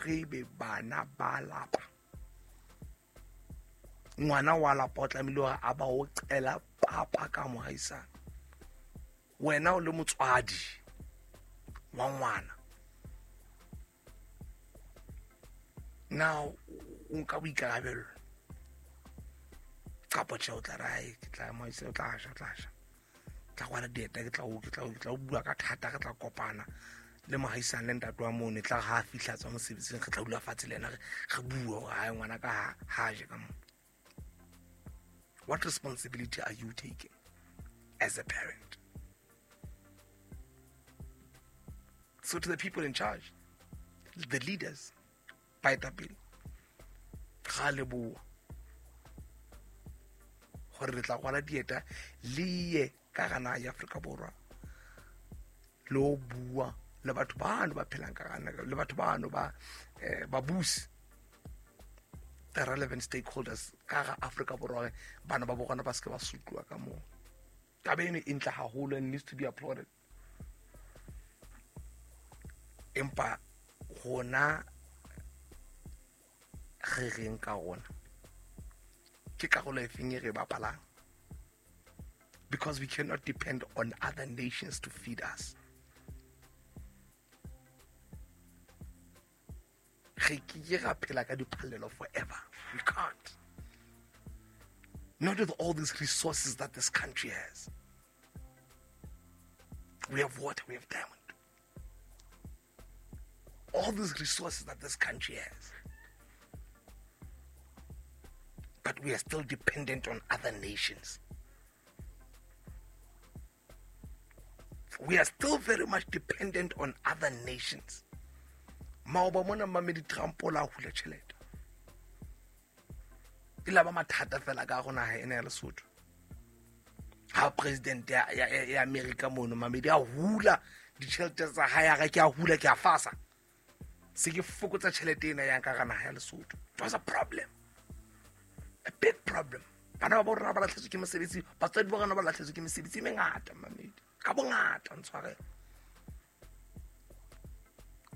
Hore ebe bana ba lapa, ngwana wa lapa o tlamehile hore a ba o qela papa ka mohaisane. Wena o le motswadi wa ngwana, na o nka boikarabelo kapa tjhe? O tla re, "Ai, ke tla mohaisane, o tla ja, o tla ja, tla kwala dieta, ke tla o bua ka thata, re tla kopana le mohaisane le ntate wa mono, e tla re ha a fihla tswa mosebetsing, re tla dula fatshe le ena, re bue hore hae ngwana ka ha je ka mo." What responsibility are you taking as a parent? So to the people in charge, the leaders, baetapele, ga leboa gore re tla kwala dieta le ye ka gana ya Afrika Borwa le o bua le batho bano ba phelang ka gana, le batho bano ba babusi, the relevant stakeholders ka ga Afrika Borwa, bana ba bona ba seke ba sutluwa ka moo. Taba eno e ntle haholo and needs to be applauded, empa rona re reng ka rona? Ke karolo e feng e re bapalang? Because we cannot depend on other nations to feed us. Re ke ra phela ka diphallelo forever. We can't, not with all these resources that this country has. We have water, we have diamond, all these resources that this country has, but we are still dependent on other nations. We are still very much dependent on other nations. Maoba mona, mamedi, Trump o la hula tjhelete, e la ba mathata fela ka go naha ena ya Lesotho. Ha president ya America mono, mamedi, a hula ditjhelete tsa hae, a re, "Ke a hula, ke a fasa, se ke fokotsa tjhelete ena yang ka ga naha ya Lesotho." It was a problem, a big problem. Bana ba bo rona ba latlhetswe ke mosebetsi, batswadi ba rona ba latlhetswe ke mesebetsi e mengata, mamedi, ka bongata ntshwarela.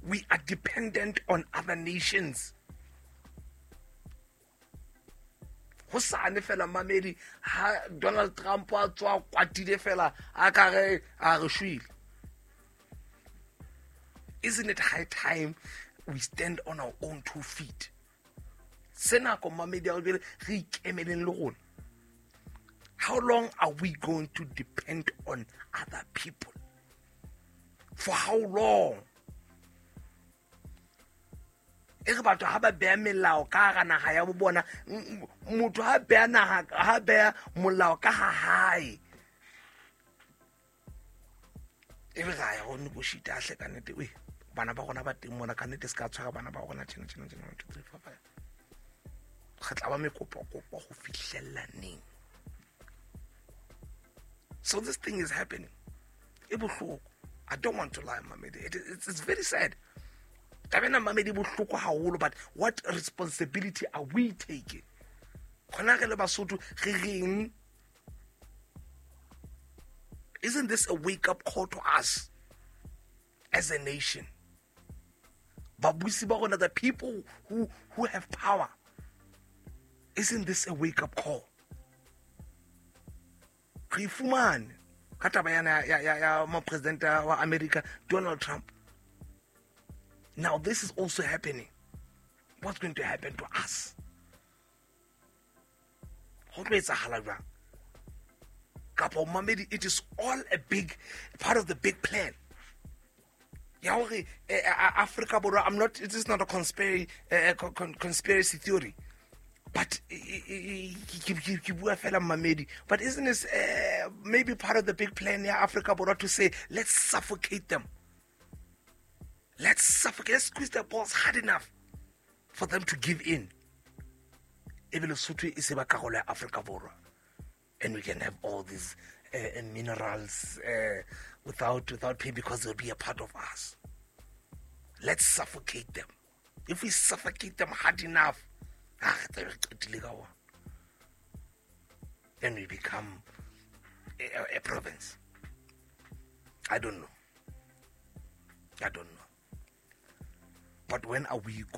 We are dependent on other nations. Go sane fela, mamedi, ha Donald Trump a tswa kwatile fela, a ka re a re shwele. Isn't it high time we stand on our own two feet? Se nako, mamedi, a re ikemeleng le rona. How long are we going to depend on other people? For how long? E re batho ha ba beha melao ka hara naha ya bo bona, motho ha beha naha, ha beha molao ka ha hae, e be ra ya go negotiate hle. Ka nnete oe, bana ba rona ba teng mona, ka nnete se ka tshwara bana ba rona tjena tjena tjena. 1 2 3 4 5, re tla ba mekopakopa go fihlella neng? So this thing is happening, e bohloko. I don't want to lie, mamedi, it's very sad taba ena, mamedi, bohloko haholo. But what responsibility are we taking gona re le Basotho? Re reng? Isn't this a wake up call to us as a nation? Babusi ba rona, the people who have power, isn't this a wake up call? Re fumane ka taba yana ya mopresident wa America, Donald Trump. Now this is also happening. What's going to happen to us? Go tlo etsahala jwang? Kapa, mamedi, it is all a big part of the big plan ya hore Africa Borwa, I'm not, it is not a conspiracy theory, but ke bua fela, mamedi, but isn't this maybe part of the big plan ya Africa Borwa to say, "Let's suffocate them, let's suffocate, let's squeeze their balls hard enough for them to give in," ebe Lesotho e se ba karolo ya Africa Borwa, and we can have all these minerals without pay, because they'll be a part of us? Let's suffocate them. If we suffocate them hard enough, ah, re tlabe re qetile ka ona, then we become a province. I don't know, I don't know, but when are we